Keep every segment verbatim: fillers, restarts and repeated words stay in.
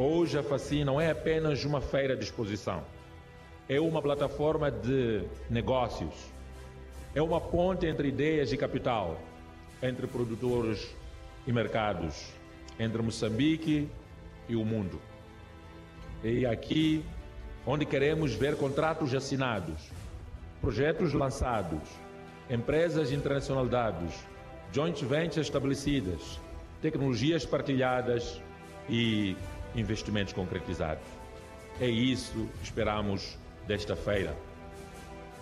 Hoje a Facim não é apenas uma feira de exposição, é uma plataforma de negócios, é uma ponte entre ideias e capital, entre produtores e mercados, entre Moçambique e o mundo. E aqui, onde queremos ver contratos assinados, projetos lançados, empresas internacionalizadas, joint ventures estabelecidas, tecnologias partilhadas e investimentos concretizados. É isso que esperamos desta feira.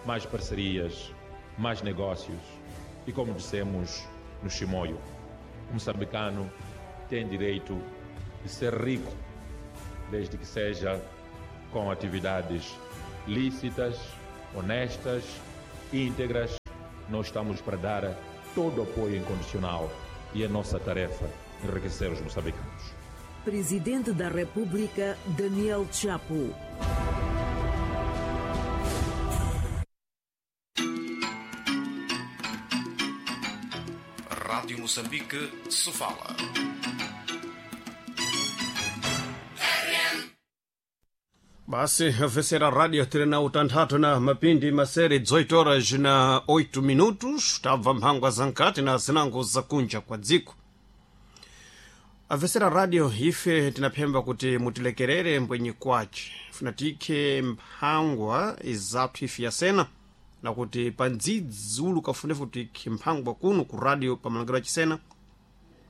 Mais parcerias, mais negócios e, como dissemos no Chimoio, o moçambicano tem direito de ser rico, desde que seja com atividades lícitas, honestas, íntegras. Nós estamos para dar todo o apoio incondicional e é nossa tarefa enriquecer os moçambicanos. Presidente da República, Daniel Chapo. Rádio Moçambique, Sofala. Basi afesera radio tiri utanthatu na mapindi masere dezoito horas na oito minutos, tabva mphangwa za nkati na zinango zakunja kwa dziko. Afesera radio ife tinaphemba kuti mutilekerere mbwenyi kwace funa tikhe mphangwa izathu ife yasena na kuti pandzidzi ulu kafunefu tikhe mphangwa kuno ku radio pamalangiro achisena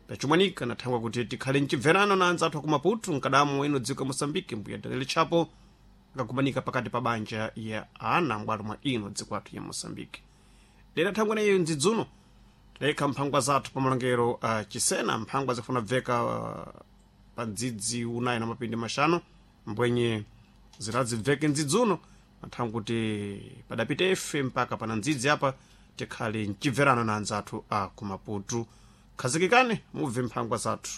pachimwanika nathangwa kuti tikhale mchibverano na anzathu aku Maputo mkadamo ino dziko ya Moçambique mbuya Daniel Chapo akakumanika pakati pa banja ya ana m'bwalo mwa ino dziko athu ya Moçambique. Dera thangwa nayo ndzidzuno tidayikha mphangwa zathu pa malongero a chisena, mphangwa zikufuna bveka uh, pa ndzidzi unayi na mapindi maxanu mbwenye ziradzibveke ndzidzuno mathangwa kuti padapita ife mpaka pana ndzidzi apa tikhale mchibverano na anzathu a ku Maputo. Khazikikani mubve mphangwa zathu.